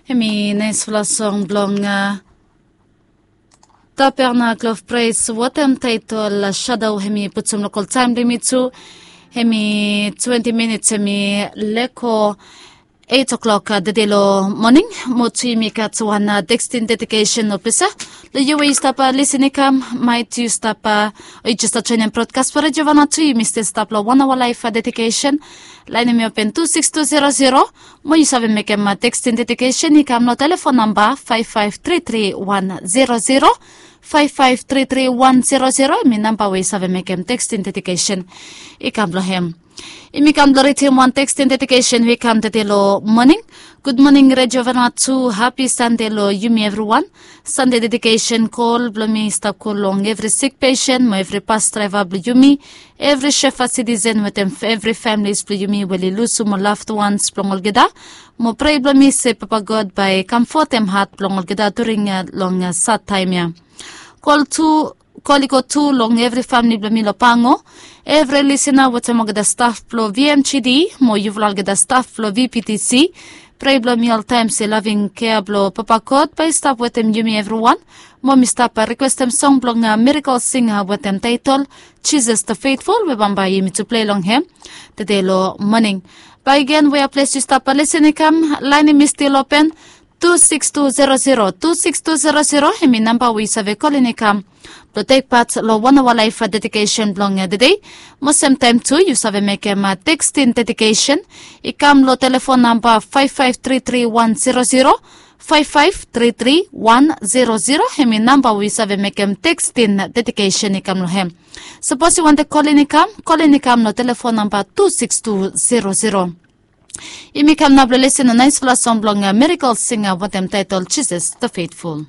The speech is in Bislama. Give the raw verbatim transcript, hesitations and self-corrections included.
Hemi naispela song blong Tapernacle of Praise wetem taitol Shadow. Hemi putum lokal taim blong yumi tu, hemi twenti minits, hemi leko eight o'clock tede long moning. Mo tu yumi gat wan tekstin dedikesen ofisa. Long yu we yu stap lisin i kam, maet yu stap o yu jes stap joinim brodkas blong Redio Vanua tu, yumi stil stap long wan aoa laef dedikesen. Lain hemi open tu sikis tu zero zero. Mo yu save mekem tekstin dedikesen i kam long telefon namba faef faef tri tri wan zero zero. Faef faef tri tri wan zero zero hemi namba we yu save mekem tekstin dedikesen i kam long hem. Yumi kam blong ridim wan tekstin dedikesen we i kam tede long moning. Gud moning Redio Vanua tu, hapi Sande long yumi evriwan. Sande dedikesen kol blong mi i stap go long evri sik pesen mo evri bas draeva blong yumi, evri Shefa sitisen wetem evri familis blong yumi we oli lusum ol lafd wans blong olgeta. Mo prea blong mi se Papa God bae i kamfotem hat blong olgeta during long sad taem ya. Kol tu, kol i go tu long evri famili blong mi long Pango, evri lisina wetem olgeta staf blong V M G D mo yufala olgeta staf blong V P T C. Prea blong mi oltaem se laving kea blong Papa God bae i stap wetem yumi evriwan. Mo mi stap rikwestem song blong Miracle Singer wetem taetol Jisas the Faithful we bambae yumi tu plei long hem tede long moning. Bakegen wea ples yu stap lisin i kam, lain hemi stil open, tu sikis tu zero zero, tu sikis tu zero zero hemi namba we yu save kolin i kam blong tek pat long wan aoa laef dedikesen blong tede. Mo semtaem tu yu save mekem tekstin dedikesen i kam long telefon namba faef faef tri tri wan zero zero. Faef faef tri tri wan zero zero hemi namba we yu save mekem tekstin dedikesen i kam long hem. Sapos yu wantem kolin i kam, kolin i kam long telefon namba tu sikis tu zero zero. Yumi kam nao blong lisin long naispela song blong Miracle Singer wetem taetol Jisas the Faithful.